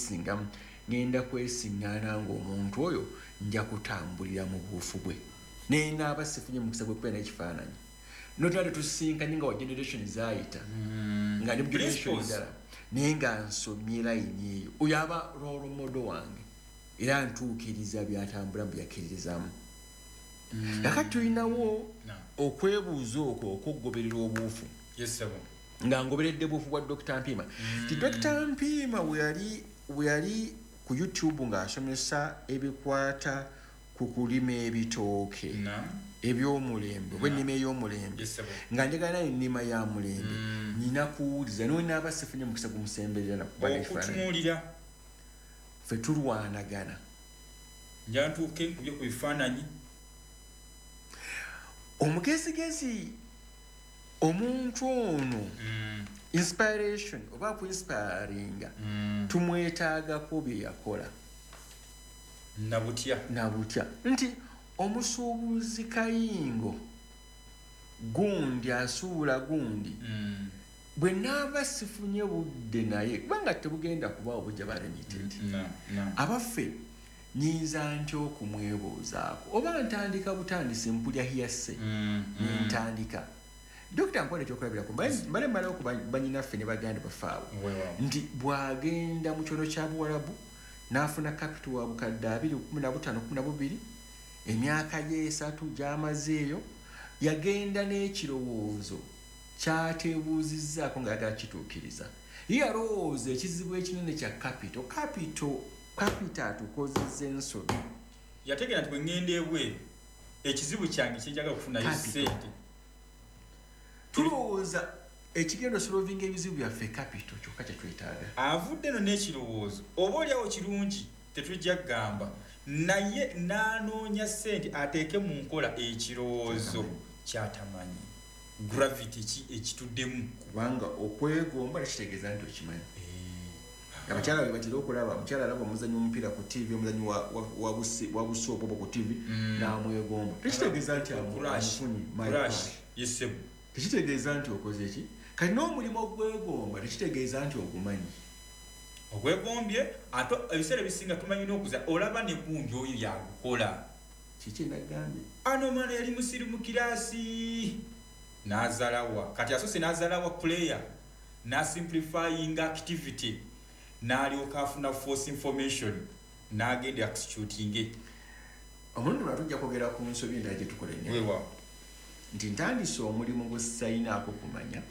kwesingamu, ngenda kwesiŋŋaana ng'omuntu oyo nja kutambulira mu buufu bwe, nenaaba sifunye mukisa gwekubeera n'ekifaananyi notuna tetusinkanye nga wa generation zaayita nga ndi mu generation Principles. endala, naye nga nsomye layini eyo, oyo aba role model wange era ntuukiriza byatambula mu byakkiririzaamu. Kakati tulinawo okwebuuza okwo okwokugoberera obuufu. Yes, sir. Nga ngoberedde buufu bwa Dr Mpiima, ti Dr Mpiima we yali ku YouTube ng'asomesa ebikwata ku kulima ebitooke ebyomulembe oba ennima ey'omulembe, Yes, sir. nga njagala nayo ennima ya mulembe, nina kuwuliza nonaaba sifunye mukisa gumusemberera nakuba n'ekifaananyi. Okutunuulira. Ffe tulwanagana. Njantuuke nkubye ku bifaananyi. Omugezigezi omuntu ono, inspiration oba kuinspiringa, tumwetaagako bye yakola. Nabutya. Nabutya nti omusuubuzi kayingo gundi asuula gundi, bwe naaba sifunye budde naye, kubanga tebugenda kubaawo bujja ba limited, Na abaffe nyinza ntya okumwebuuzaako oba ntandika butandisi mpulya hiyase nentandika? Dokita, nkola ekyokulabirako, mbale mmalawo ku banyinaffe ne baganda baffe abo, Weewaawo. nti bw'agenda mu kyono kya Buwalabu n'afuna capital wa bukadde 20, 15, 12, emyaka gye 3 gy'amazeeyo, yagenda n'ekirowoozo kyateebuuzizzaako ng'ayagala kituukiriza. Ye yalowooza ekizibu ekinene kya capital, capital, capital atukozeza ensobi. Yategeera nti bwe ŋŋenda ebweru, ekizibu kyange kyenjagala okufunayo Capital. ssente. Tulowooza ekigenda osolvinga ebizibu byaffe capital kyokka kyetwetaaga. Avudde no n'ekirowoozo oba oliawo kirungi, tetujja kugamba, naye n'anoonya ssente ateeke mu nkola ekirowoozo kyatamanyi gravity ki ekituddemu. Kubanga okwegomba tekitegeeza nti okimanyi. Abakyala bwe batera okulaba, omukyala alaba omuzanyi omupiira ku TV, omuzanyi wa busoopu obwo ku TV, n'amwegomba, tekitegeeza nti Crush. amufunye, my Crush. crush. Yesebo. Tekitegeeza nti okoze ki. Kati n'omulimu ogwegomba tekitegeeza nti ogumanyi. Ogwegombye, ate ebiseera ebisinga tumanyi n'okuza olaba ne gundi oyo yagukola. Kiki nagambye? Ano omwana yali musiru mu kiraasi, n'azalawa, kati asose n'azalawa player n'asimplifying activity, n'alyoka afuna false information n'agenda executing. Omulundi mulala tujja kwogera ku nsobi endala gye tukola ennyo, Wewa. nti ntandise omulimu gwe sayinaako kumanya,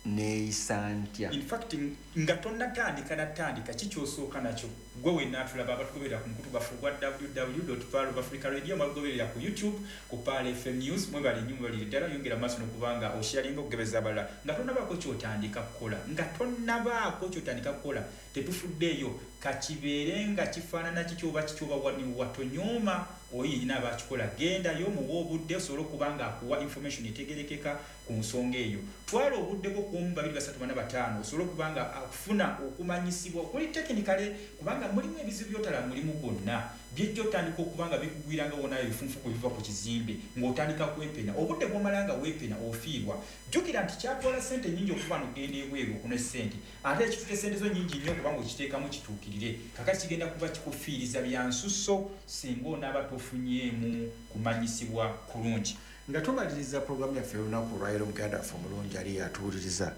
neeyisa ntya? In fact, nga tonnatandika natandika, kikyosooka nakyo gwe wenna atulaba, abatugoberera ku mukutu gwaffe ogwa www Pearl of Africa Radio, mwagoberera ku YouTube ku Pearl FM News, mwebale nnyo, mwebalire ddala. Yongera maaso nokubanga osharinga okugabeza abalala. Nga tonnabaako kyotandika kukola, nga tonnabaako kyotandika kukola, tetufuddeeyo kakibeere nga kifaanana kiki oba kiki oba watonyooma oyo yenyina aba akikola, gendayo muwe obudde osobole okuba nga akuwa information etegerekeka ku nsonga eyo. Twala obudde bwo kuomu, babiri, basatu, bana, bataano, osobole okuba nga akufuna okumanyisibwa okuli technically, kubanga mulimu ebizibu byotala mulimu gwonna byejja otandika okuba nga bikugwira nga wonayo ebifunfugu ebiva ku kizimbe ng'otandika kwepena. Obudde bwomala nga weepena ofiirwa. Jjukira nti kyatwala sente nyingi okuva nogenda ebweru okuna sente, ate ekitute sente zo nyingi nnyo kubanga okiteekamu kituukirire. Kakati kigenda kuba kikufiiriza byansusso singa onaaba tofunyeemu kumanyisibwa kulungi. Nga tumaliriza puroguramu yaffe olunaku olwaleero, muganda waffe omulungi ali yatuwuliriza,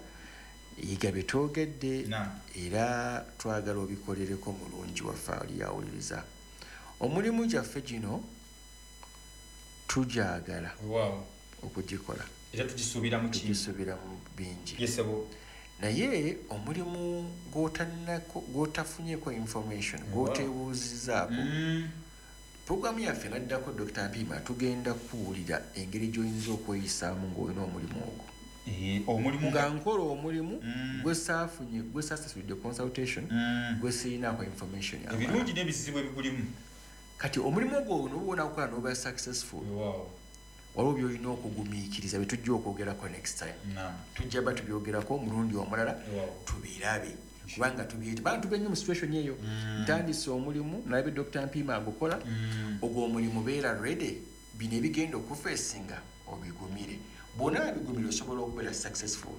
yiga bye twogedde era twagala obikolereko. Mulungi waffe ali yawuliriza, omulimu gyaffe gino tugyagala okugikola. Era tugisuubiramu ki? Tugisuubiramu bingi. Yesebo. Naye omulimu gw'otafunyeko information, gw'otebuuzizaako, puroguramu yaffe naddako Dr Mpiima tugenda kuwulira engeri gy'oyinza okweyisaamu ng'olina omulimu ogwo. Omulimu. Nga nkola omulimu gwe saafunye, gwe saasasulidde consultation, gwe sirinaako information yamala. Ebirungi n'ebizibu ebigulimu. Kati omulimu ogwo nobuwona kukola noba successful, waliwo byolina okugumiikiriza bye tujja okwogerako next time. Tujja ba tubyogerako omulundi omulala, tubirabe, kubanga tubyete bantu benyo mu situation eyo. Ntandise omulimu, nalabe Dr Mpiima agukola. Ogwo omulimu beera ready, bino ebigenda okufeesinga obigumire. Bw'onaaba bigumire, osobola okubeera successful.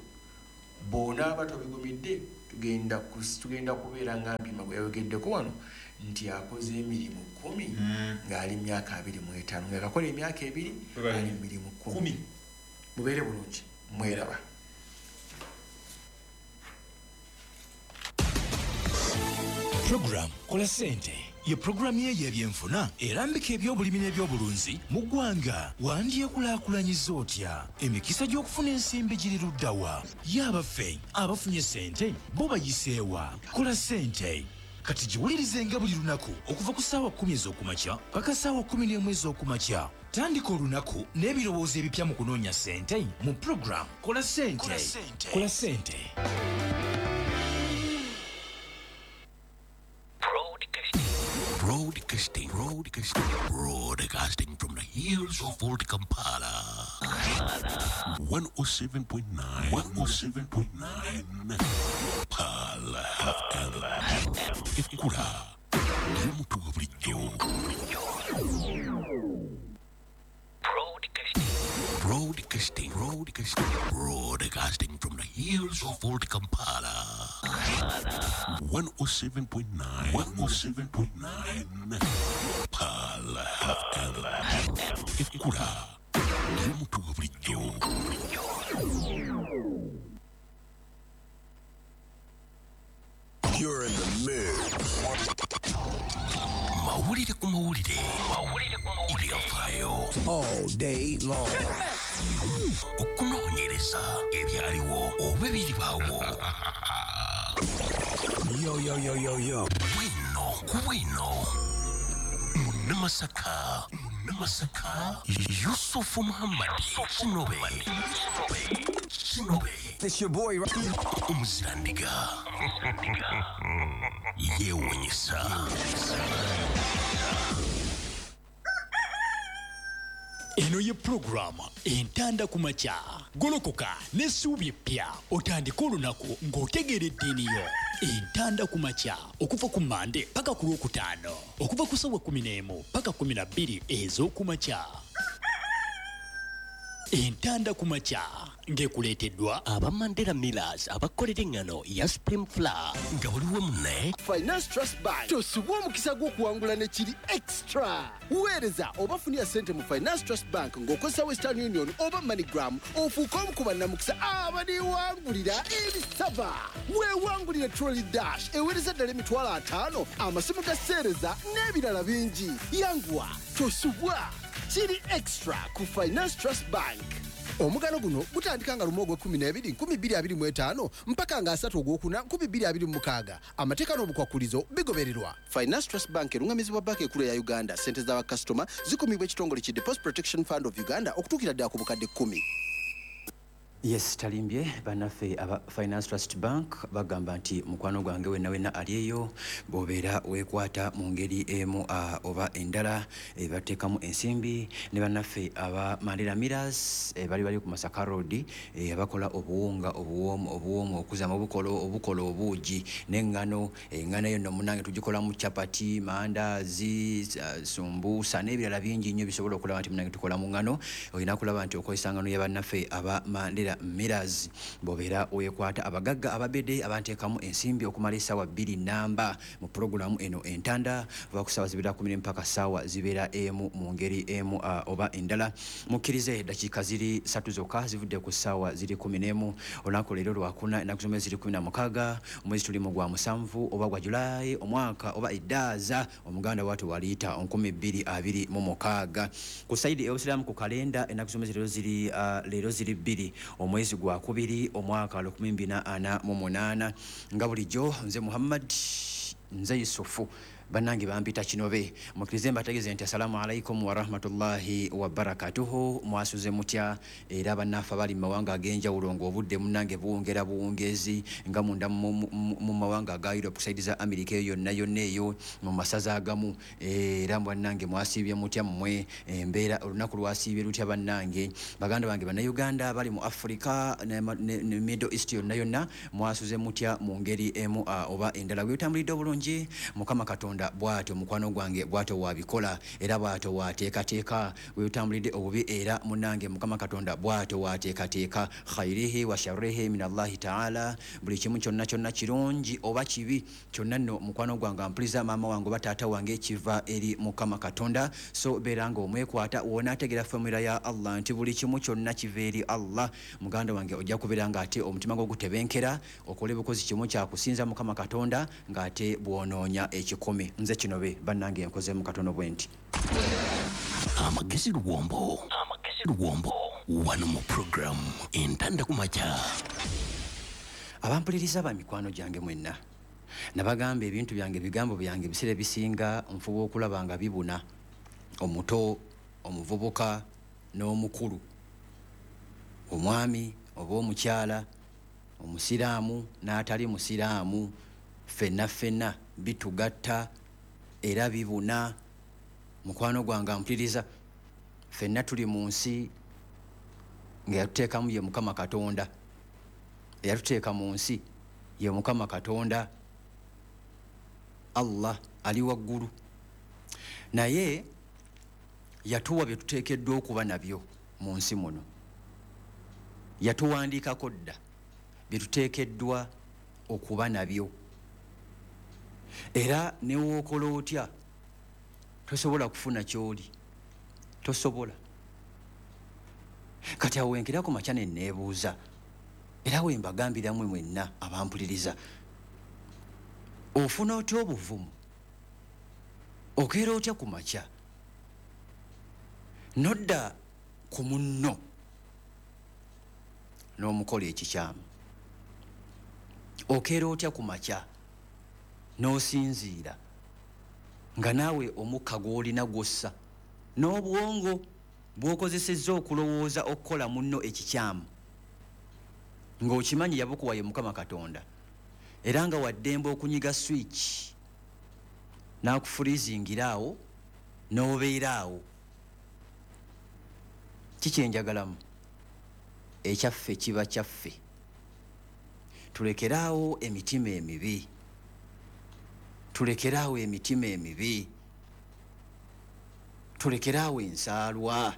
Bw'onaaba tobigumidde, Tugenda kubeera nga Mpima gwe yayogeddeko wano nti akoze emirimu 10 ng'ali myaka 25, ng'akakola emyaka 2 ali mirimu 10. Mubeere bulungi, mweraba. Program Kola Ssente ye programu ye y'ebyenfuna erambika ebyobulimi n'ebyobulunzi mu ggwanga. Wandyekulaakulanyiza otya? Emikisa gy'okufuna ensimbi giri ludda wa? Ye abaffe abafunye ssente bo bayiseewa? Kola Ssente kati giwulirizenga buli lunaku okuva ku ssaawa 10 ez'okumakya paka ssaawa 11 ez'okumakya. Tandika olunaku n'ebirowoozo ebipya mu kunoonya ssente mu program Kola Ssente. Kola Ssente. Broadcasting from the hills of Old Kampala. 107.9 107.9 Pearl FM. Ekkula ly'omutugo bulijjo. Broadcasting from the hills of Old Kampala. 107.9 107.9 Pearl FM. Ekkula ly'omutugo bulijjo. You're in the mix. Mawulire ku mawulire. Ebyafaayo. All day long. Okunoonyereza ebyaliwo oba ebiribaawo. Yo, yo, yo, yo, yo. Bwino ku bwino. Munnamasaka. Yusufu Muhammad Kinobe. It's your boy Omuzirandiga. Yeewuunyisa. Eno ye pulogulaamu Entanda ku makya. Golokoka n'essuubi eppya otandike olunaku ng'otegeera eddiini yo. Entanda ku makya okuva ku Mande paka ku Lwokutaano, okuva ku ssaawa 11 paka 12 ez'okumakya. Entanda ku makya ng'ekuleeteddwa aba Mandela Millers abakolera eŋŋano ya Spring Flour nga buli wamu ne Finance Trust Bank. Tosubwa omukisa gw'okuwangula ne kiri extra. Weereza oba funira ssente mu Finance Trust Bank ng'okozesa Western Union oba MoneyGram, ofuuke omu ku bannamukisa abaliwangulira ebisaba. Weewangulire Trolley Dash eweereza ddala 50,000, amasimu ga seereza n'ebirala bingi. Yanguwa, tosubwa. Kiri extra ku Finance Trust Bank. Omugano guno gutandika nga 1 ogw'12 2025 mpaka nga 3 ogwokuna 2026. Amateeka n'obukwakulizo bigobererwa. Finance Trust Bank erungamizibwa banka enkulu ya Uganda. Ssente za bakasitoma zikumibwa ekitongole ki Deposit Protection Fund of Uganda okutuukira ddala ku bukadde 10. Yes, talimbye bannaffe aba Finance Trust Bank bagamba nti mukwano gwange wenna wenna ali eyo bw'obeera weekwata mu ngeri emu oba endala, bateekamu ensimbi. Ne bannaffe aba Mandela Millers bali ku Masaka Road, abakola obuwunga obuwoomu okuzamu obukola obuugi n'eŋŋano. Eŋŋano eyo nno munnange tugikolamu chapati, mandaazi, sumbusa n'ebirala bingi nnyo bisobola okulaba nti munnange tukola mu ŋŋano. Olina kulaba nti okozesa ŋŋano ya bannaffe aba Mandela Millers. Bw'obeera weekwata abagagga ababedde abanteekamu ensimbi okumala essaawa 2 namba mu pulogulaamu eno Entanda, va ku ssaawa zibeera 10 mpaka ssaawa zibeera 1 mu ngeri emu oba endala. Mukkirize dakiika ziri 3 zokka zivudde ku ssaawa ziri 11. Olunaku leero lwakuna, ennaku z'omwezi ziri 16, omwezi tuli mu gwa 7 oba gwa Julayi, omwaka oba eddaaza omuganda waatu waliyita 2026. Ku sayidi ey'obusiraamu ku kalenda ennaku z'omwezi leero ziri 2 omwezi gwa 2 omwaka 2048. Nga bulijjo nze Muhammad, nze Yusufu, bannange bampita Kinobe. Mukkirize mbategeeze nti assalamu alaikum warahmatullahi wabarakatuhu. Mwasuze mutya? Era bannaffe abali mu mawanga ag'enjawulo ng'obudde munnange buwongera buwungezi, nga munda mu mawanga aga Europe, ku sayidi za Amerika eyo yonna yonna eyo mu masaza agamu. Era bannange mwasiibye mutya mmwe? Embeera olunaku lwasiibye lutya bannange? Baganda bange Bannayuganda bali mu Africa ne Middle East yonna yonna, mwasuze mutya mu ngeri emu oba endala? Bwetambulidde obulungi, Mukama Katonda Katonda bw'atyo mukwano gwange bw'atyo wabikola era bw'atyo wateekateeka wetambulidde obubi era munnange Mukama Katonda bw'atyo wateekateeka khairihi wa sharrihi min Allahi taala. Buli kimu kyonna kyonna kirungi oba kibi kyonna nno mukwano gwange ampuliza, maama wange oba taata wange, kiva eri Mukama Katonda. So beera nga omwekwata wonaategeera formula ya Allah nti buli kimu kyonna kiva eri Allah, muganda wange ojja kubeera nga ate omutima gwo gutebenkera okole bukozi kimu kyakusinza Mukama Katonda ng'ate bw'onoonya ekikumi. Nze kino be bannange nkozeemu katono bwe nti. Amagezi Luwombo, Amagezi Luwombo, wano mu puroguramu Entanda ku Makya. Abampuliriza ba mikwano gyange mwenna, nabagamba ebintu byange, ebigambo byange ebiseera ebisinga nfuba okulaba nga bibuna omuto, omuvubuka n'omukulu, omwami oba omukyala, omusiraamu n'atali musiraamu, ffenna ffenna bitugatta era bibuna. Mukwano gwange ampuliriza, ffenna tuli mu nsi nga yatuteekamu ye Mukama Katonda, eyatuteeka mu nsi ye Mukama Katonda Allah ali waggulu, naye yatuwa bye tuteekeddwa okuba nabyo mu nsi muno, yatuwandiikako dda bye tuteekeddwa okuba nabyo. Era ne w'okola otya tosobola kufuna ky'oli, tosobola. Kati awo wenkera ku makya ne neebuuza, era we mbagambiramu mwenna abampuliriza, ofuna otya obuvumu, okeera otya ku makya nodda ku munno n'omukola ekikyamu? Okeera otya ku makya n'osinziira nga naawe omukka gw'olina gw'ossa n'obwongo bw'okozesezza okulowooza okukola munno ekikyamu ng'okimanyi yabukuwa ye Mukama Katonda, era nga waddembe okunyiga switch n'akufurizingira awo n'obeera awo? Kikyenjagalamu ekyaffe kiba kyaffe. Tulekeraawo emitima emibi, tulekeraawo emitima emibi, tulekeraawo ensaalwa,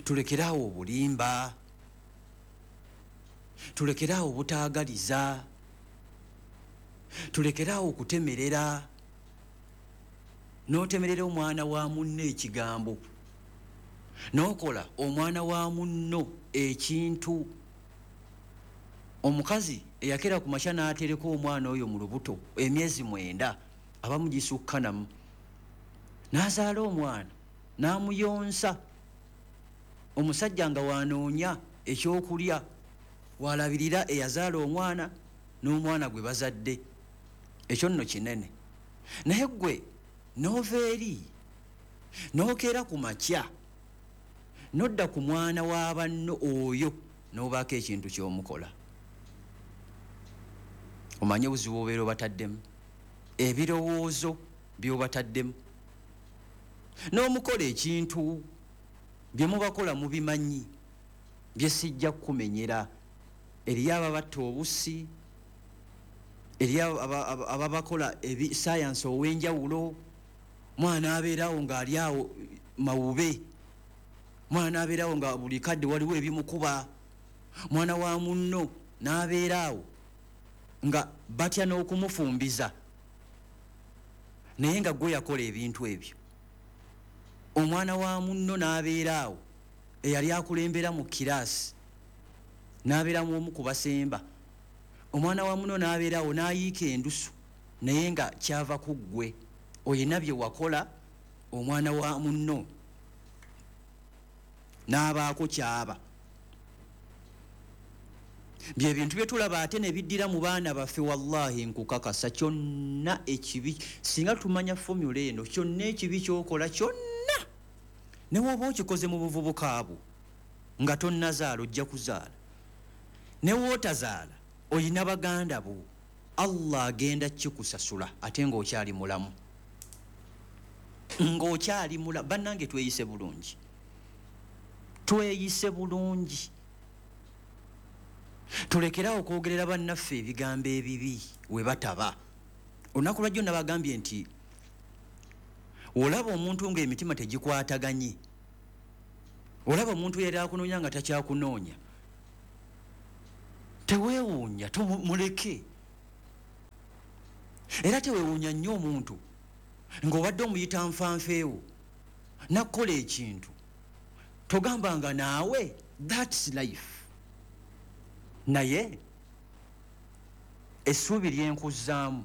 tulekeraawo obulimba, tulekeraawo obutaagaliza, tulekeraawo okutemerera n'otemerera omwana wa munno ekigambo, n'okola omwana wa munno ekintu. Omukazi eyakera ku makya n'atereka omwana oyo mu lubuto emyezi 9, abamu gisukkanamu, n'azaala omwana n'amuyonsa, omusajja nga wanoonya ekyokulya walabirira eyazaala omwana n'omwana gwe bazadde, ekyo nno kinene. Naye ggwe n'ova eri n'okeera ku makya n'odda ku mwana wa banno oyo n'obaako ekintu ky'omukola, omanye obuzibu obeera obataddemu, ebirowoozo by'obataddemu, n'omukola ekintu bye mubakola mubimanyi bye sijja kukumenyera. Eriyo ababatta obussi, eriyo ababakola sayansi ow'enjawulo, mwana abeerawo ng'ali awo mawube, mwana abeerawo nga buli kadde waliwo ebimukuba, mwana wa munno n'abeera awo nga batya n'okumufumbiza, naye nga gwe yakola ebintu ebyo. Omwana wa munno n'abeera awo eyali akulembera mu kiraasi n'abeeramu omu ku basemba, omwana wa munno n'abeera awo n'ayiika endusu, naye nga kyava ku ggwe, oyina bye wakola omwana wa munno n'abaako kyaba. Bye bintu bye tulaba ate ne biddira mu baana baffe. Wallahi nkukakasa kyonna ekibi, singa tumanya formula eno, kyonna ekibi ky'okola kyonna ne bw'oba okikoze mu buvubuka bwo nga tonnazaala, ojja kuzaala, ne w'otazaala oyina baganda bo, Allah agenda kikusasula ate ng'okyali mulamu, ng'okyali mulamu. Bannange tweyise bulungi, tweyise bulungi, tulekerawo okwogerera bannaffe ebigambo ebibi we bataba. Olunaku lwajjo nabagambye nti olaba omuntu ng'emitima tegikwataganye, olaba omuntu yali akunoonya nga takyakunoonya, teweewuunya, tumuleke. Era teweewuunya nnyo omuntu ng'obadde omuyita nfanfeewo nakukola ekintu, togambanga naawe that's life. Naye essuubi lyenkuzaamu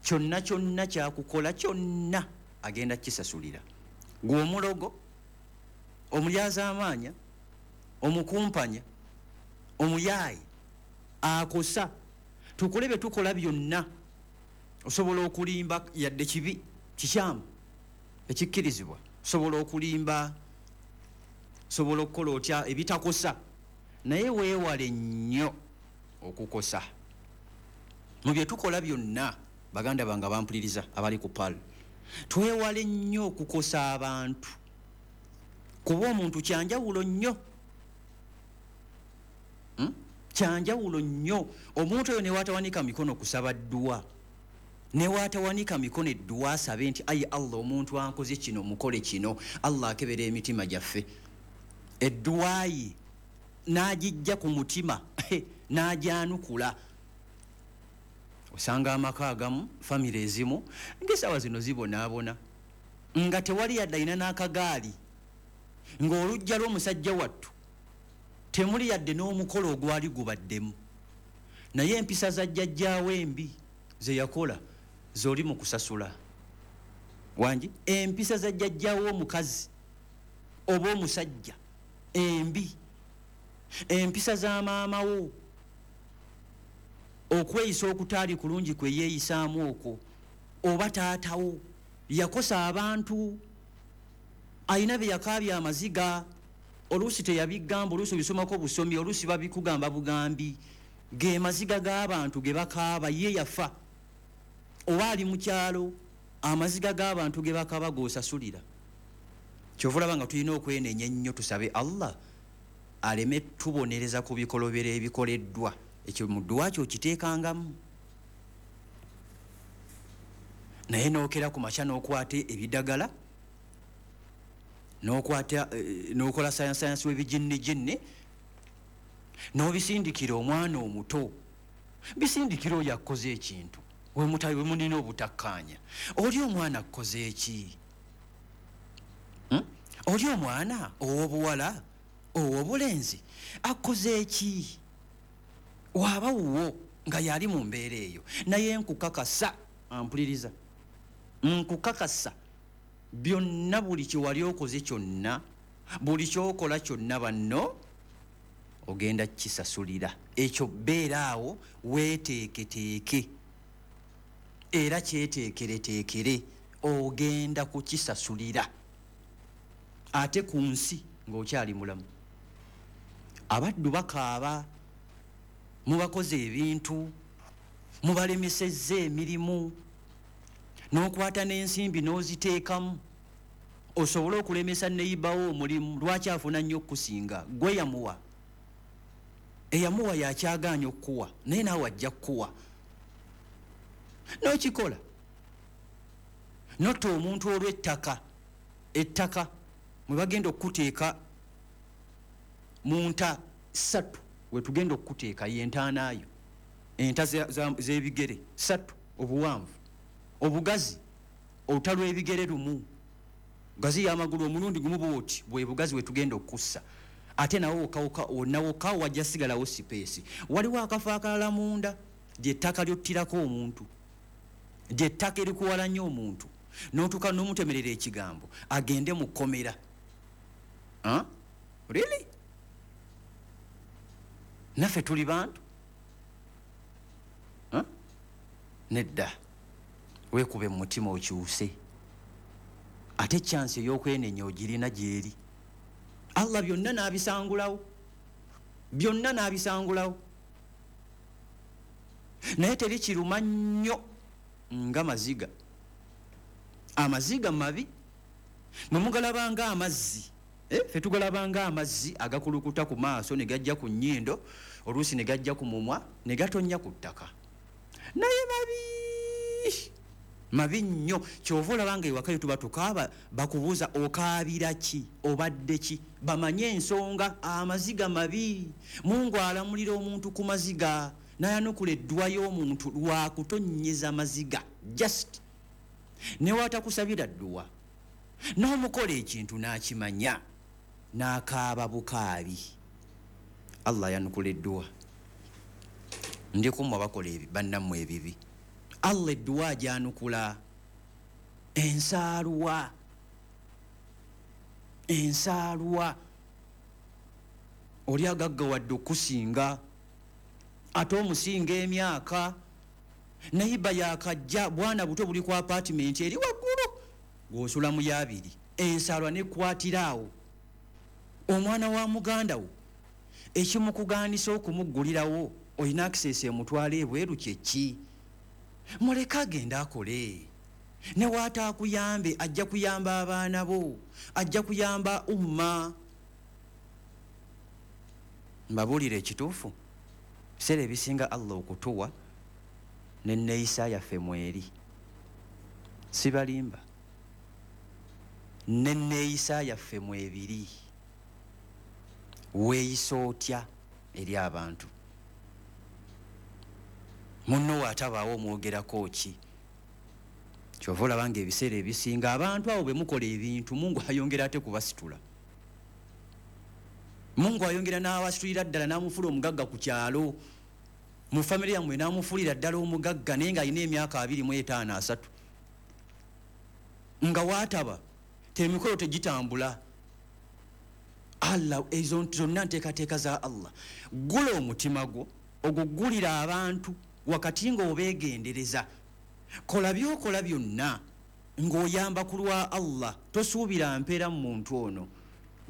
kyonna kyonna kyakukola kyonna agenda kisasulira. Gwe omulogo, omulyazaamaanya, omukumpanya, omuyaayi, akosa, tukole bye tukola byonna. Osobola okulimba yadde kibi kikyamu ekikkirizibwa, osobola okulimba, osobola okukola otya ebitakosa, naye weewale nnyo okukosa. Mu bye tukola byonna, baganda bange bampuliriza abali ku PAL, twewale nnyo okukosa abantu, kuba omuntu kyanjawulo nnyo. Kyanjawulo nnyo. Omuntu oyo newaatawanika mikono kusaba dduwa, newaatawanika mikono edduwa asabe nti ayi Allah, omuntu ankoze kino mukole kino. Allah akebera emitima gyaffe, edduwa ye n'agijja ku mutima n'agyanukula. Osanga amaka agamu, famire ezimu ng'essaawa zino zibonaabona nga tewali yadde alina n'akagaali, ng'oluggya lw'omusajja wattu temuli yadde n'omukolo ogwali gubaddemu, naye empisa za jjajjaawo embi ze yakola z'oli mu kusasula. Wangi empisa za jjajjaawo omukazi oba omusajja embi, empisa za maama wo, okweyisa okutaali kulungi kwe yeeyisaamu okwo, oba taatawo yakosa abantu, alina bye yakaabya amaziga, oluusi teyabigamba, oluusi obisomako busomi, oluusi babikugamba bugambi, ge maziga g'abantu ge bakaaba. Ye yafa oba ali mu kyalo, amaziga g'abantu ge bakaaba g'osasulira. Kyova olaba nga tulina okwenenya ennyo, tusabe Allah aleme tubonereza ku bikolobero ebikoleddwa. Ekyo mu dduwa kyo okiteekangamu. Naye n'okera ku makya n'okwata ebidagala, n'okwata n'okola sayansi w'ebijinnijinni, n'obisindikira omwana omuto, bisindikira oyo akkoze ekintu we mulina obutakkaanya. Oli omwana akkoze eki? Oli omwana ow'obuwala, ow'obulenzi akkoze eki? Waaba wuwo nga yali mu mbeera eyo, naye nkukakasa, ampuliriza, nkukakasa byonna, buli kyewali okoze kyonna, buli kyokola kyonna, banno ogenda kisasulira. Ekyo beera awo weeteeketeeke era kyeteekereteekere, ogenda kukisasulira ate ku nsi ng'okyali mulamu. Abaddu bakaaba, mubakoze ebintu, mubalemesezza emirimu, n'okwata n'ensimbi n'oziteekamu osobole okulemesa neyibawo omulimu. Lwaki afuna nnyo okukusinga? Gwe yamuwa, eyamuwa yakyagaanya okukuwa, naye naawe ajja kukuwa. N'okikola notta omuntu olw'ettaka, ettaka mwe bagenda okukuteeka mu nta ssatu, wetugenda okukuteeka yentaanaayo, enta z'ebigere 3 obuwanvu, obugazi oluta lw'ebigere lumu, gazi y'amagulu omulundi gumu bwoti, bwe bugazi wetugenda okussa. Ate nawo wokka wonna wokka wajja sigalawo space. Waliwo akafo akalala munda, lyettaka lyottirako omuntu, lyettaka erikuwala nnyo omuntu, n'otuuka n'omutemerera ekigambo agende mu kkomera. Huh? Really? Naffe tuli bantu. Huh? Nedda, weekube mu mutima okyuse. Ate chance ey'okwenenya ogirina gyeri. Allah byonna n'abisangulawo, byonna n'abisangulawo. Naye teri kiruma nnyo nga maziga. Amaziga mabi, mwe mugalabanga amazzi. Ffe tugalabanga amazzi agakulukuta ku maaso ne gajja ku nnyindo, oluusi ne gajja ku mumwa ne gatonnya ku ttaka, naye mabi. Mabi nnyo. Kyova olaba nga ewaka tuba tukaaba, bakubuuza okaabira ki, obadde ki, bamanye ensonga. Amaziga mabi. Mungu alamulira omuntu ku maziga, n'ayanukula eddwa y'omuntu lwakutonnyeza maziga. Just newatakusabira dduwa, n'omukola ekintu n'akimanya, n'akaaba bukaabi, Allah ayanukula edduwa. Ndi kummwe abakola bannammwe ebibi, Allah edduwa agyanukula. Ensaalwa, ensaalwa. Oli agaggawadde okusinga, ate omusinga emyaka, nayiba yakajja, bwana buto buli ku apartment eri waggulu, gw'osula mu yabiri. Ensaalwa nekwatira awo. Omwana wa muganda wo ekimukugaanisa okumuggulirawo, olina access emutwala ebweru, kyeki? Muleke agende akole. Ne waataakuyambe, ajja kuyamba abaana bo, ajja kuyamba umma. Mbabuulira ekituufu, biseera ebisinga Allah okutuwa nenneeyisa yaffe mweri. Sibalimba, nenneeyisa yaffe mwebiri. Weeyisa otya eri abantu? Munno waatabaawo omwogerako ki? Kyova olaba nga ebiseera ebisinga abantu abo bwe mukola ebintu, Mungu ayongera ate kubasitula. Mungu ayongera n'abasitulira ddala, n'amufuula omugagga ku kyalo, mu famire yammwe n'amufuulira ddala omugagga, naye ng'alina emyaka 25, 30, nga waataba temikolo tegitambula. Allah, ezo zonna nteekateeka za Allah. Gula omutima gwo ogugulira abantu wakati ng'obeegendereza. Kola byokola byonna ng'oyamba ku lwa Allah, tosuubira mpeera mu muntu ono,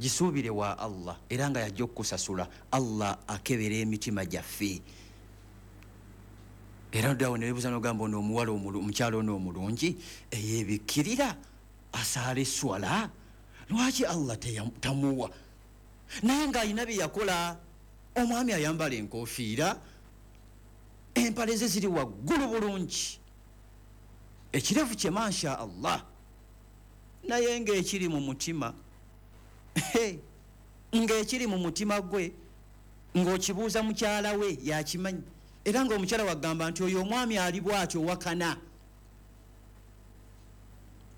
gisuubire wa Allah, era nga yajja okukusasula. Allah akebera emitima gyaffe. Era oddawo ne weebuuza n'ogamba, ono omuwala, omukyala ono omulungi eyeebikkirira, asaala esswala, lwaki Allah tamuwa? Naye ng'alina bye yakola. Omwami ayambala enkofiira, empale ze ziri waggulu bulungi, ekirevu kye masha Allah, naye ng'ekiri mu mutima, ng'ekiri mu mutima gwe ng'okibuuza mukyala we yakimanyi. Era ng'omukyala wagamba nti oyo omwami ali bw'atyo wakana,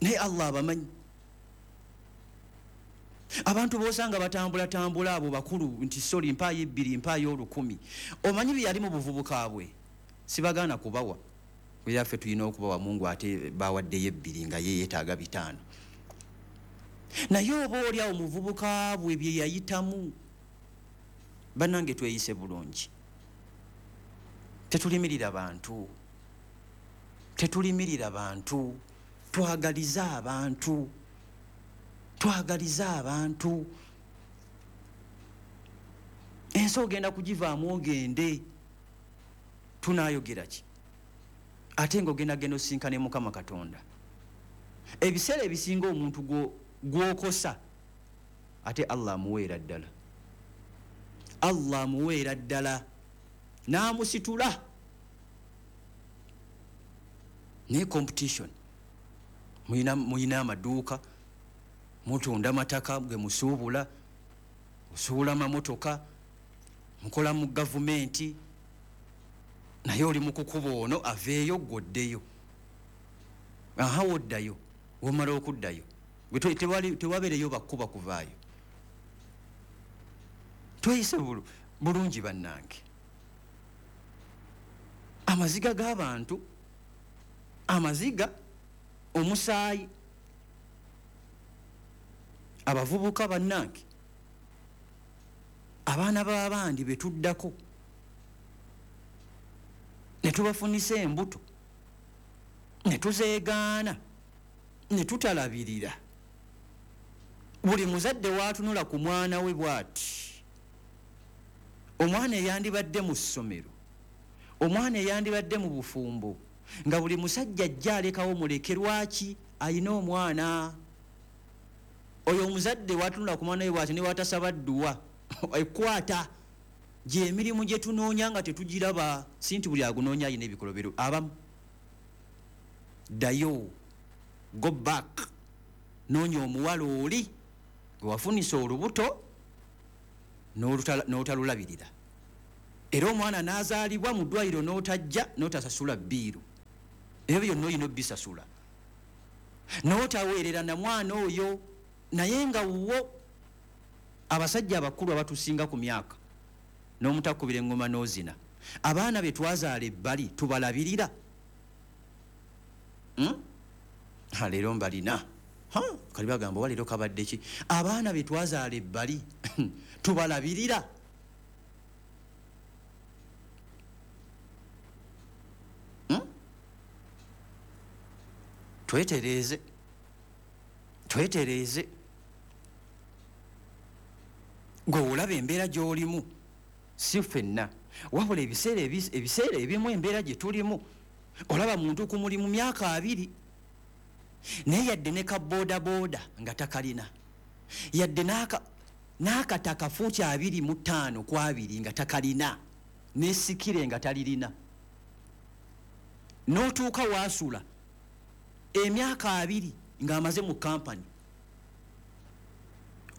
naye Allah abamanyi. Abantu b'osanga batambulatambula abo bakulu nti soli mpaayo 2, mpaayo 1000, omanyi bye yali mu buvubuka bwe. Sibagaana kubawa, era ffe tulina okubawa. Mungu ate bawaddeyo 2 nga ye yeetaaga 5. Naye oba oli awo muvubuka bwe bye yayitamu. Bannange, tweyise bulungi, tetulimirira bantu, tetulimirira bantu, twagalize abantu, twagalize abantu. Ensi ogenda kugivaamu ogende, tunaayogera ki? Ate ng'ogenda genda osinkane Mukama Katonda. Ebiseera ebisinga omuntu gw'okosa, ate Allah amuweera ddala, Allah amuweera ddala n'amusitula. Naye competition, muyina amaduuka, mutunda mataka ge musuubula, osuubula amamotoka, mukola mu gavumenti, naye oli mu kukuba ono aveeyo gw'oddeyo. Aha, woddayo, womala okuddayo tewabeereyo bakkuba kuvaayo. Tweyise bulungi bannange. Amaziga g'abantu, amaziga, omusaayi. Abavubuka bannange, abaana b'abandi betuddako ne tubafunisa embuto ne tuzeegaana ne tutalabirira. Buli muzadde waatunula ku mwana we bw'ati, omwana eyandibadde mu ssomero, omwana eyandibadde mu bufumbo, nga buli musajja ajja alekawo muleke. Lwaki? Ayina omwana. Oyo omuzadde watunula ku mwana we bw'ati, ne watasaba dduwa ekwata. Gyemirimu gye tunoonya nga tetugiraba. Si nti buli agunoonya alina ebikolobero, abamu. Ddayo, go back, noonya omuwala oli gwe wafunisa olubuto n'otalulabirira, era omwana n'azaalibwa mu ddwaliro n'otajja n'otasasula bbiiru. Ebyo byonna olina obbisasula, n'otaweerera na mwana oyo naye nga wuwo. Abasajja abakulu abatusinga ku myaka n'omutakubira engoma n'ozina, abaana be twazaala ebbali tubalabirira? Leero mbalina kali bagamba oba leero kabadde ki? Abaana be twazaala ebbali tubalabirira? Twetereeze, twetereeze. Gwe olaba embeera gy'olimu, si ffenna, wabula ebiseera ebimu embeera gye tulimu, olaba muntu ku mulimu myaka 20 naye yadde ne ka boodabooda nga takalina, yadde n'akataka fuuti 25 ku 20 nga takalina, n'esikire nga talirina, n'otuuka waasula emyaka 20 ng'amaze mu kampani,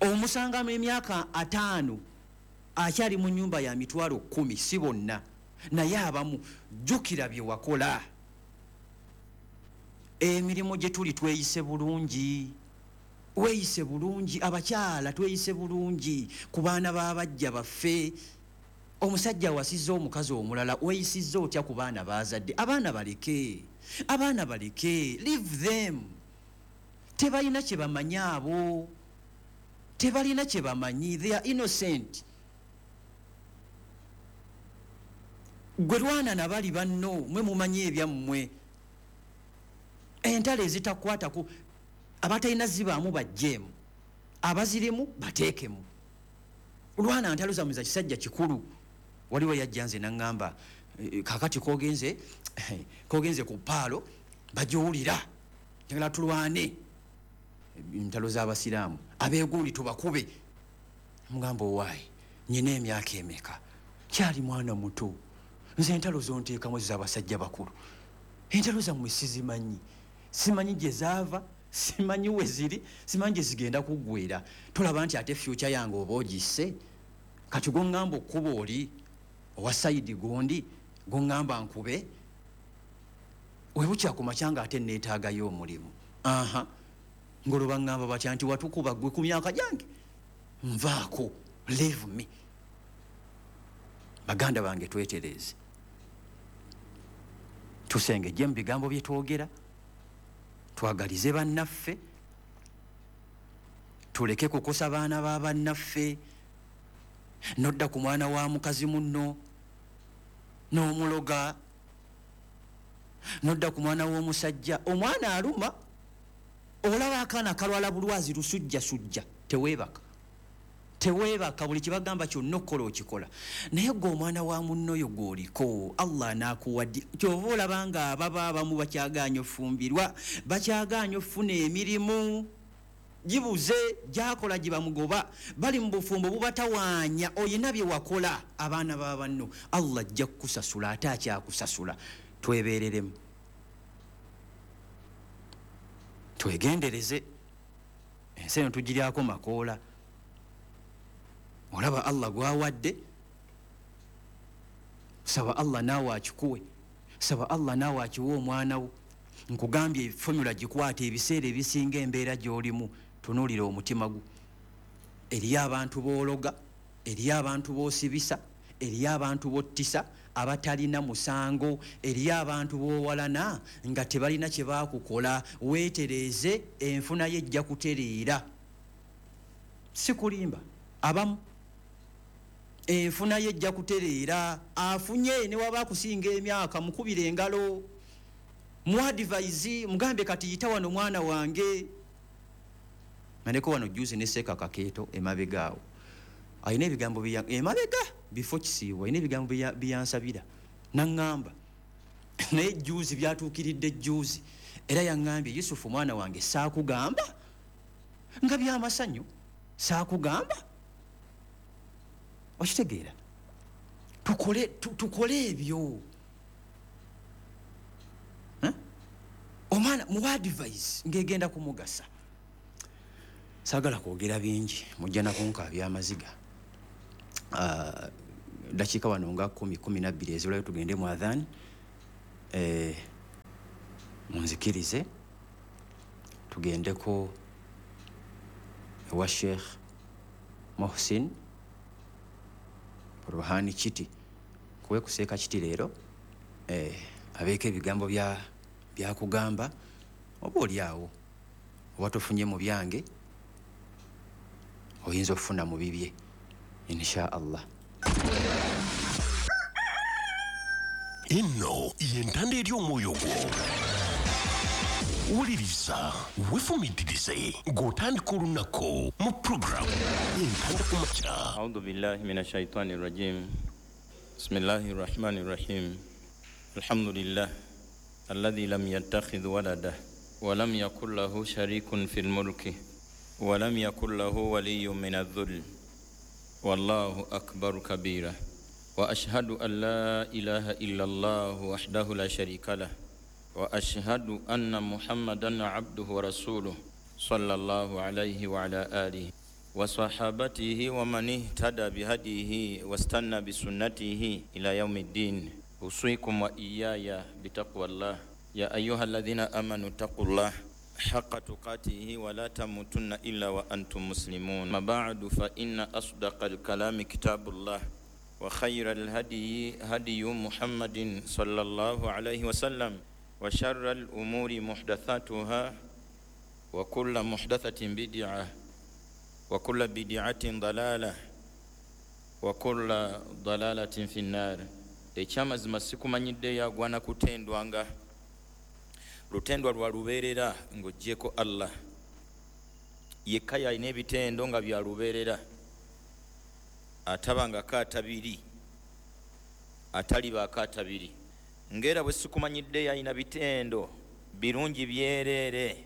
omusangamu emyaka 5 akyali mu nnyumba ya mitwalo 10. Si bonna, naye abamu. Jjukira bye wakola. Emirimu gye tuli, tweyise bulungi, weeyise bulungi. Abakyala tweyise bulungi ku baana b'abajja baffe. Omusajja awasizza omukazi omulala, weeyisizza otya ku baana bazadde? Abaana baleke, abaana baleke, leave them. Tebalina kye bamanyi abo, tebalina kye bamanyi, they are innocent. Gwe lwana nabali banno, mwe mumanyi ebyammwe. Entalo ezitakwatako abatalina zibaamu bajjeemu, abazirimu bateekemu. Lwana ntalo zammwe za kisajja kikulu. Waliwo yajja nze naŋŋamba, kakati kogenze ku paalo bagiwulira, njagala tulwane entalo z'abasiraamu, abeegundi tubakube. Mugamba, owaayi, nyina emyaka emeka? Kyali mwana muto. Nze entalo zonteekamu z'abasajja bakulu, entalo zammwe sizimanyi, simanyi gye zaava, simanyi we ziri, simanyi gye zigenda kuggwera. Tolaba nti ate future yange oba ogisse? Kati goŋŋamba okkuba oli owa side gundi, goŋŋamba nkube webukya ku makya nga ate neetaagayo omulimu. Aha, ngolwo baŋŋamba batya nti watukuba ggwe ku myaka gyange? Nvaako, leave me. Baganda bange, twetereeze, tusengejje mu bigambo bye twogera, twagalize bannaffe, tuleke kukosa baana ba bannaffe. Nodda ku mwana wa mukazi munno n'omuloga, nodda ku mwana w'omusajja, omwana aluma, olaba akaana kalwala bulwazi lusujjasujja, teweebaka, teweebaka, buli kibagamba kyonna okukola okikola. Naye gwe omwana wa munno oyo gw'oliko, Allah anaakuwadde. Kyova olaba nga ababa abamu bakyagaanye ofumbirwa, bakyagaanye ofuna emirimu gibuze, gyakola gye bamugoba, bali mu bufumbo bubatawaanya. Oyina bye wakola abaana ba banno, Allah ajja kukusasula, ate akyakusasula. Twebeereremu, twegendereze, ensi eno tugiryako makoola. Olaba Allah gwawadde, saba Allah naawe akikuwe, saba Allah naawe akiwe omwana wo. Nkugambye formula gikwata. Ebiseera ebisinga embeera gy'olimu, tunuulira omutima gwo. Eriyo abantu b'ologa, eriyo abantu b'osibisa, eriyo abantu b'ottisa abatalina musango, eriyo abantu b'owalana nga tebalina kye baakukola. Weetereeze, enfuna ye ejja kutereera. Si kulimba, abamu enfuna ye ejja kutereera. Afunye ne waba akusinga emyaka, mukubira engalo, mu advise, mugambe kati yita wano mwana wange. Mandeko wano juzi ne Seeka Kakeeto emabega awo, alina ebigambo emabega bifo kisiibwa, alina ebigambo byansabira naŋŋamba, naye juzi byatuukiridde juzi. Era yaŋŋambye, "Yusufu mwana wange, saakugamba nga byamasanyu? Saakugamba?" Okitegeera? Tukole ebyo. Omwana Mwana muwa advice ng'egenda kumugasa. Saagala kwogera bingi, mujja nakunkaabya amaziga. Dakiika wano nga 10 12 ezibulayo tugende mu adhan. Munzikirize tugendeko ewa Sheikh Mohsin Ruhani Kiti kuwe kuseeka Kiti leero, abeeko ebigambo byakugamba oba oli awo oba tofunye mu byange oyinza okufuna mu bibye insha Allah. Eno yentanda eri omwoyo gwo. Wuliriza, weefumiitirize ng'otandika olunaku mu puroguramu Entanda ku Makya. A'udhu billahi minash shaitani rajim. Bismillahir rahmanir rahim. Alhamdulillah alladhi lam yattakhidh walada wa lam yakul lahu sharikun fil mulki wa lam yakul lahu waliyyun minadh-dhull. Wallahu akbar kabira. Wa ashhadu an la ilaha illa Allah wahdahu la sharika lah. Wa ashhadu anna Muhammadan abduhu wa rasuluh sallallahu alayhi wa ala alihi wa sahabatihi wa man ihtada bihadihi wastanna bisunnatihi ila yaumiddin. Usikum wa iyaya bitaqwallah. Ya ayyuhalladhina amanu taqullah haqqa tuqatihi wa la tamutunna illa wa antum muslimun. Ma ba'du, fa inna asdaqal kalami kitabullah wa khayral hadiyi hadiyu Muhammadin sallallahu alayhi wa sallam wa sharral umuri muhdathatuha wa kullu muhdathatin bid'ah wa kullu bid'atin dalalah wa kullu dalalatin finnar. Ekyamazima sikumanyidde yagwana kutendwanga lutendwa lwa lubeerera ng'oggyeko Allah yekka yalina ebitendo nga bya lubeerera, atabangako atabiri, atalibaako atabiri. Ng'era bwe sikumanyidde yalina bitendo birungi byereere,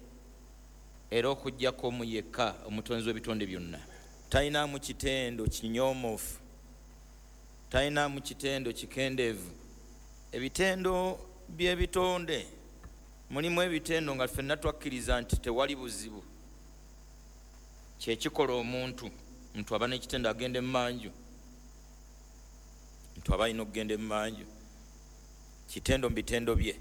era okuggyako mu yekka omutonzi w'ebitonde byonna talinamu kitendo kinyoomofu, talinamu kitendo kikendeevu. Ebitendo by'ebitonde mulimu ebitendo nga ffenna twakkiriza nti tewali buzibu, kyekikola omuntu nti aba n'ekitendo agenda emmanju, nti aba alina okugenda emmanju, kitendo mu bitendo bye.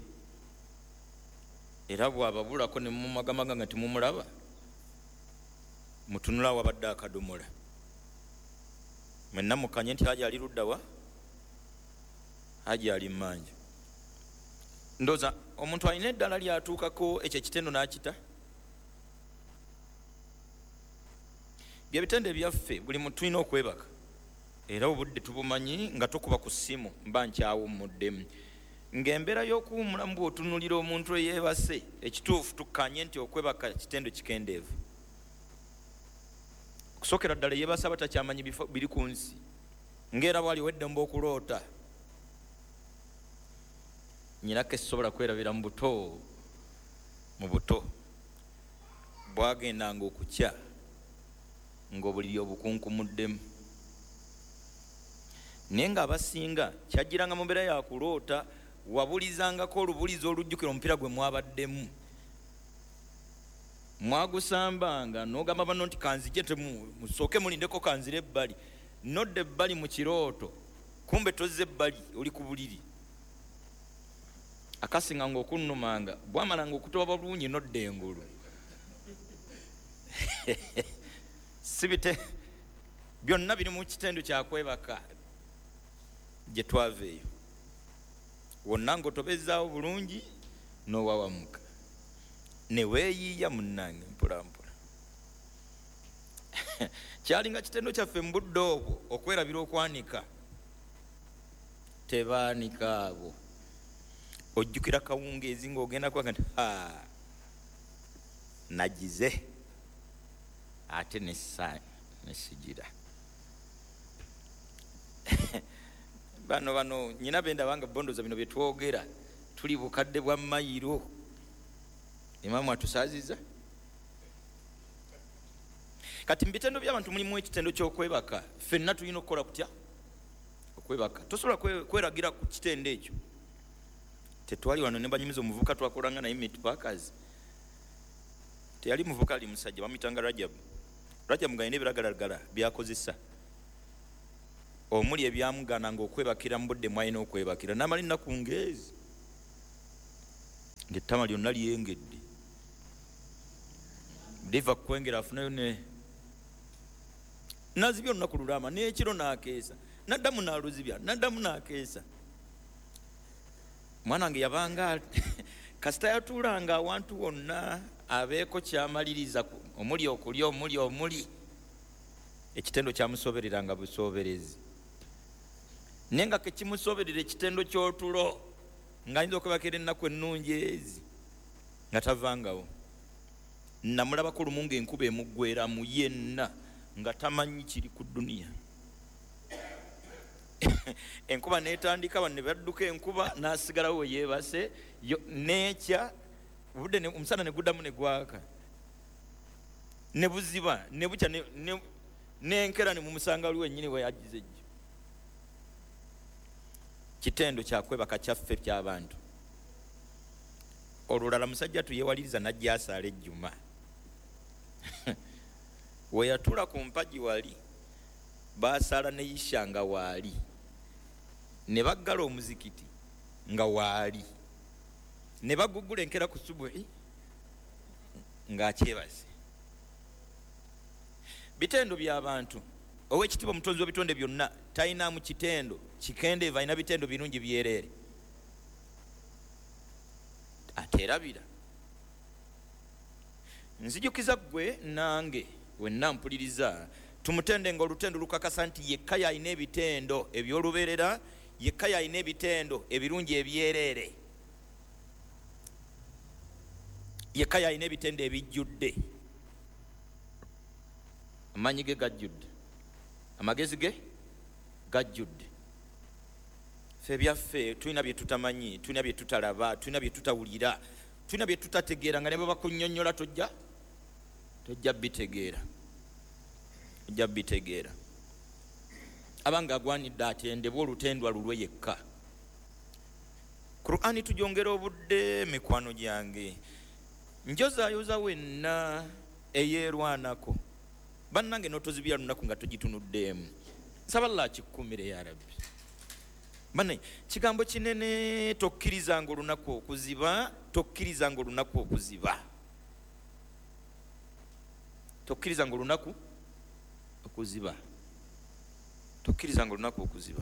Era bw'ababulako ne mumagamaga nga temumulaba, mutunula wabadde akadomola, mwenna mukanye nti haji ali ludda wa, haji ali mmanja. Ndowooza omuntu alina eddala lyatuukako ekyo ekitendo n'akita. Byebitendo ebyaffe buli muntu tulina okwebaka, era obudde tubumanyi nga tukuba ku ssimu mba nkyawummuddemu. Ng'embeera y'okuwummulamu bw'otunuulira omuntu eyeebase, ekituufu tukkanye nti okwebaka kitendo kikendeevu. Okusookera ddala yeebase aba takyamanyi biri ku nsi, ng'era bw'ali ow'eddembe okuloota. Nnyinako esisobola kwerabira mu buto bwagendanga okukya ng'obuliri obukunkumuddemu, naye ng'abasinga kyajjiranga mu mbeera ya kuloota, wabulizangako olubulizi olujjukira omupiira gwe mwabaddemu, mwagusambanga n'ogamba banno nti kanzije, musooke mulindeko kanzire ebbali, nodda ebbali mu kirooto, kumbe tozze ebbali oli ku buliri. Akasinganga okunnumanga bwamalanga okutoba bulungi nodda engulu. Sibite byonna biri mu kitendo kyakwebaka gye twava eyo. Wonna ng'otobezaawo bulungi n'owawamuka ne weeyiiya munnange mpola mpola. Kyalinga kitendo kyaffe mu budde obwo okwerabira okwanika. Tebaanika abo. Ojjukira kawungeezi ng'ogenda kwaka nti ha, nagize ate nesigira. Bano nyina benda banga bondoza bino bye twogera tuli bukadde bwa mayiro. Imamu atusaaziza. Kati mu bitendo by'abantu mulimu ekitendo ky'okwebaka. Ffenna tulina okukola kutya? Okwebaka. Tosobola kweragira ku kitendo ekyo. Tetwali wano ne banyumiza omuvubuka twakolanga naye meat packers. Teyali muvubuka, ali musajja bamuyitanga Rajab. Rajab ng'alina ebiragalalagala by'akozesa, omuli ebyamugaananga okwebakira mu budde mwalina okwebakira, n'amala ennaku ngeezi ng'ettama lyonna lyengedde, liva kukwengera afunayo ne nazibya olunaku lulama, n'ekiro n'akeesa, naddamu n'aluzibya, naddamu n'akeesa. Mwana wange yabanga kasita yatuulanga awantu wonna abeeko kyamaliriza, omuli okulya, omuli ekitendo kyamusobereranga busoberezi, naye nga kekimusoberera ekitendo ky'otulo, ng'ayinza okwebakira ennaku ennungi ezi nga tavangawo. Namulabako lumu ng'enkuba emuggweramu yenna nga tamanyi kiri ku dduniya. Enkuba n'etandika, bano ne badduka enkuba, n'asigalawo we yeebase, n'ekya obudde omusana ne guddamu ne gwaka, ne buziba ne bukya, n'enkera ne mumusanga wali wennyini we yagize ejjo. Kitendo kyakwebaka kyaffe ky'abantu. Olulala musajja tuyewaliriza n'ajja asaala ejjuma. We yatuula ku mpagi wali basaala ne Isha nga waali, ne baggala omuzikiti nga waali, ne bagugula enkera ku subuhi ng'akyebase. Bitendo by'abantu. Owekitiibwa omutonzi w'ebitonde byonna talinamu kitendo kikendeeva, alina bitendo birungi byereere, ateerabira. Nzijukiza ggwe nange wenna mpuliriza, tumutende nga olutendo lukakasa nti yekka yalina ebitendo eby'olubeerera, yekka yalina ebitendo ebirungi ebyereere, yekka yalina ebitendo ebijjudde. Amaanyi ge gajjudde, amagezi ge gajjudde. Ffe ebyaffe tulina bye tutamanyi, tulina bye tutalaba, tulina bye tutawulira, tulina bye tutategeera, nga ne bwe bakunnyonnyola tojja bitegeera, ojja bitegeera. Abanga agwanidde atendebwa olutendwa lulwe yekka. Qur'ani tujongera obudde, mikwano gyange, njozaayoza wenna eyeerwanako. Bannange n'otozibira lunaku nga togitunuddeemu. Nsaba Allah akikukumire ya Rabbi. Banne kigambo kinene, tokkirizanga olunaku okuziba, tokkirizanga olunaku okuziba, tokkirizanga olunaku okuziba, tokkirizanga olunaku okuziba.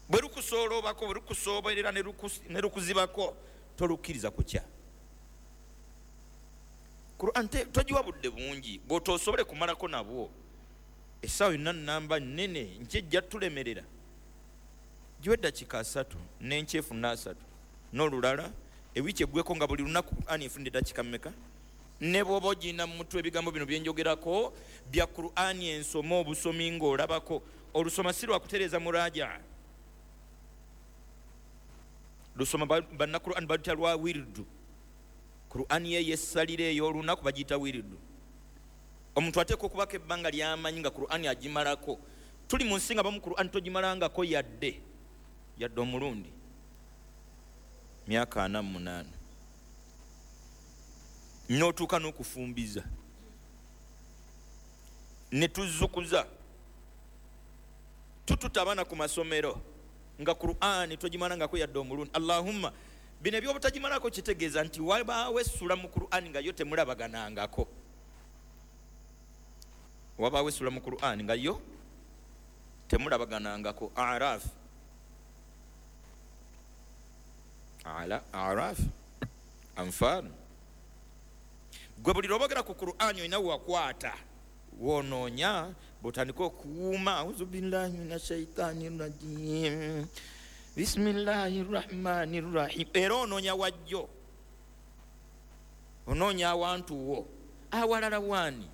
Bwe lukusoolobako, bwe lukusooberera ne lukuzibako, tolukkiriza kukya. Qur'an togiwa budde bungi bw'otoosobole kumalako nabwo. Essaawa yonna nnamba nnene nkyejja tulemerera. Giwe eddakiika 3 n'enkyefu 3 n'olulala, ewiiki eggweko nga buli lunaku Qur'an efuna eddakiika mmeka? Ne bw'oba ogirina mu mutwe, ebigambo bino bye njogerako bya Qur'an ensoma obusomi ng'olabako. Olusoma si lwa kutereeza muraja, lusoma banna Qur'an baluyita lwa wirdu. Qur'an ye yessalira ey'olunaku bagiyita wirdu. Omuntu ateekwa okubako ebbanga ly'amanyi nga Qur'an agimalako. Tuli mu nsi nga bamu Qur'an togimalangako yadde omulundi, myaka 48, n'otuuka n'okufumbiza ne tuzzukuza, tututa abaana ku masomero nga Qur'an togimalangako yadde omulundi. Allahumma, bino ebyobutagimalako kitegeeza nti wabaawo essula mu Qur'an nga yo temulabaganangako. Wabaawo essula mu Qur'an nga yo temulabaganangako. Araf, ala Araf, Anfal. Gwe buli lw'obogera ku Qur'an olina wakwata, wonoonya, bw'otandika okuwuuma, auzu billahi mina shaitani rajim, bismillahi rahmani rahim, era onoonya wajjo, onoonya awantu wo awalala waani.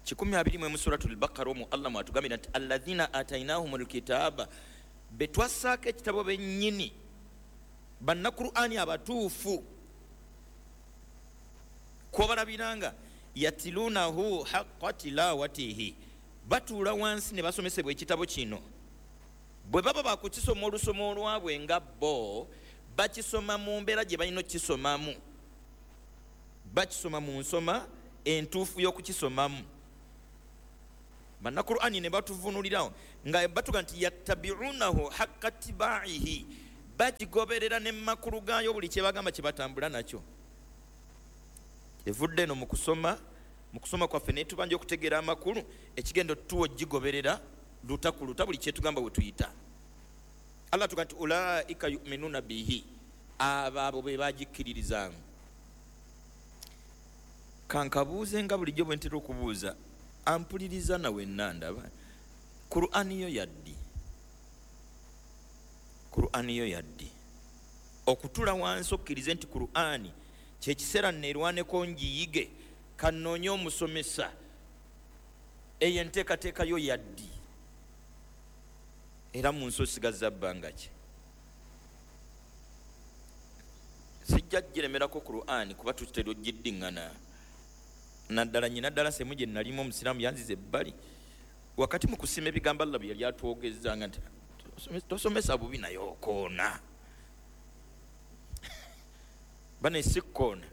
121 Suratul Baqara omwo Allah mwatugambira nti alladhina atainahumul kitaba, betwassaako ekitabo bennyini, banna Qur'ani abatuufu, kwobalabiranga yatilunahu haqqa tilawatihi, batuula wansi ne basomesebwa ekitabo kino, Bwe baba bakukisoma olusoma olwabwe nga bo bakisoma mu mbeera gye balina okukisomamu, bakisoma mu nsoma entuufu y'okukisomamu. Bannakurani ne batuvunulirawo nga batuga nti yattabiunahu haqqa tibaihi, bakigoberera ne makulu gaayo buli kye bagamba kye batambula nakyo. Evudde eno mu kusoma kwaffe ne tubanja okutegeera amakulu, ekigendo tuwo gigoberera luta ku luta buli kyetugamba we tuyita. Allah tuga nti ulaika yuminuna bihi, abo abo be bagikkiririzaamu. Kankabuuze nga bulijjo bwe ntera okubuuza, ampuliriza nawe nandaba, Qur'ani yo yaddi? Qur'ani yo yaddi? Okutula wansi okkirize nti Qur'ani kyekiseera neerwaneko ngiyige, kannoonye omusomesa, eyo enteekateeka yo yaddi? Era mu nsi osigazza bbanga ki? Sijja giremerako Qur'ani kuba tutera ogiddiŋŋana. Naddala nyina ddala semu gye nalimu omusiraamu yanziza ebbali wakati mu kusima ebigambo Allah bye yali atwogezanga nti tosomesa bubi naye okoona. Bane si kkoona,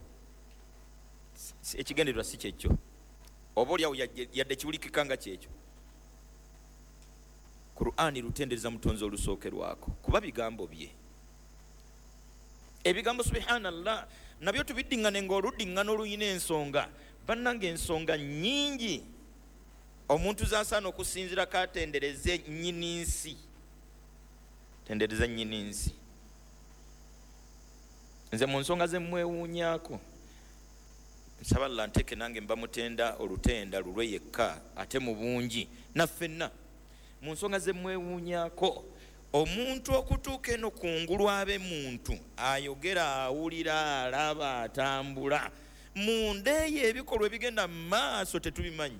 ekigendererwa si kyekyo, oba oliawo yadde kiwulikika nga kyekyo. Qur'ani lutendereza mutonzi olusookerwako kuba bigambo bye. Ebigambo subhanallah nabyo tubiddiŋŋane ng'oluddiŋŋana oluyina ensonga. Bannange ensonga nnyingi omuntu z'asaana okusinziirako atendereze nnyini nsi, tendereze nnyini nsi. Nze mu nsonga ze mmwewuunyaako, nsaba Allah nteeke nange mba mutenda olutenda lulwe yekka ate mu bungi naffenna. Mu nsonga ze mmwewuunyaako, omuntu okutuuka eno kungulu abe muntu ayogera, awulira, alaba, atambula, munda eyo ebikolwa ebigenda mu maaso tetubimanyi.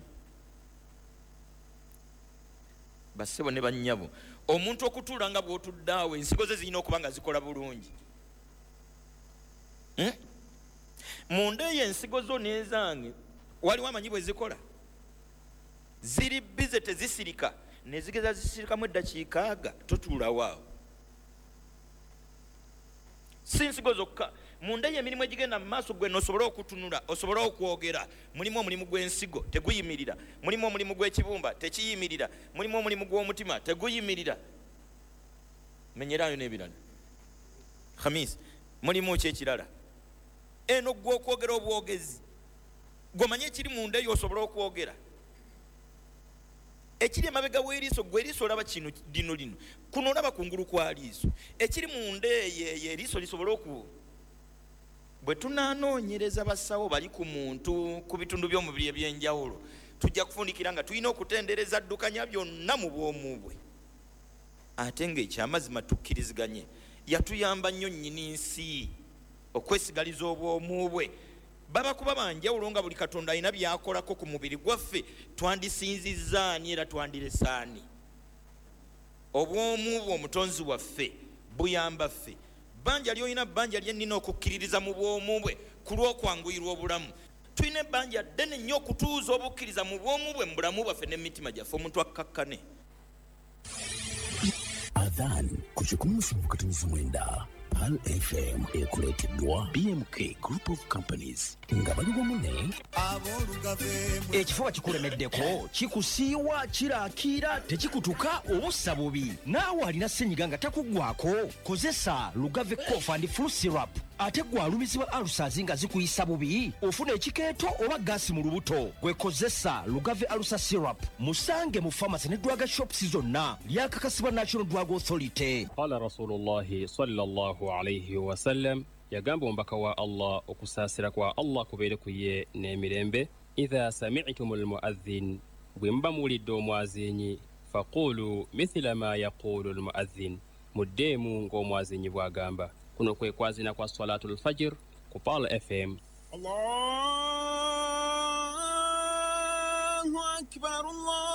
Bassebo ne bannyabo, omuntu okutuula nga bw'otudde awo ensigo ze zirina okuba nga zikola bulungi. Munda eyo ensigo zo n'ezange waliwo amanyi bwe zikola, ziri bize tezisirika, ne zigeza zisirikamu eddakiika aga totuulawo awo. Si nsigo zokka, munda eyo emirimu egigenda mu maaso gwe n'osobole okutunula, osobole okwogera, mulimu omulimu gw'ensigo teguyimirira, mulimu omulimu gw'ekibumba tekiyimirira, mulimu omulimu gw'omutima teguyimirira, menyerayo n'ebirala. Khamis, mulimu ki ekirala? Eno gwe okwogera obwogezi, gw'omanye ekiri munda eyo osobole okwogera. Ekiri emabega w'eriiso, gwe eriiso olaba kino lino lino, kuno olaba kungulu kwa liiso, ekiri munda eyo eyo eriiso lisobole oku. Bwe tunaanoonyereza basawo bali ku muntu ku bitundu by'omubiri eby'enjawulo, tujja kufundikira nga tulina okutendereza ddukanya byonna mu bwomu bwe. Ate ng'ekyamazima tukkiriziganye, yatuyamba nnyo nnyini nsi okwesigaliza obwomu bwe. Baba kuba banjawulo nga buli Katonda alina by'akolako ku mubiri gwaffe, twandisinzizza ani era twandiresaani? Obwomu bwe omutonzi waffe buyamba ffe. Bbanja ly'olina bbanja lye nnina okukkiririza mu bwomu bwe ku lw'okwanguyirwa obulamu. Tulina ebbanja ddene nnyo okutuuza obukkiriza mu bwomu bwe mu bulamu bwaffe n'emitima gyaffe, omuntu akkakkane. Adhan ku 107.9 Pearl FM ekuleeteddwa BMK Group of Companies nga bali wamu ne Ekifuba kikulemeddeko, kikusiiwa, kiraakiira, tekikutuka, obussa bubi. Naawe alina ssenyiga nga takuggwako, kozesa Lugave Cough and Flu Syrup. Ate gwe alumizibwa ulcers nga zikuyisa bubi, ofuna ekikeeto oba gaasi mu lubuto, gwe kozesa Lugave Ulcer Syrup. Musange mu pharmacy ne drug shops zonna. Lyakakasibwa National Drug Authority. Qala Rasulullahi sallallahu alaihi wasallam, yagamba omubaka wa Allah okusaasira kwa Allah kubeere ku ye n'emirembe, idha sami'tum almuadhin, bwe muba muwulidde omwazinyi, faqulu mithila ma yaqulu almuadhin, muddeemu ng'omwazinyi bw'agamba. Kuno kwe kwazina kwa Salatul Fajr ku Pearl FM. Allahu akbar, Allahu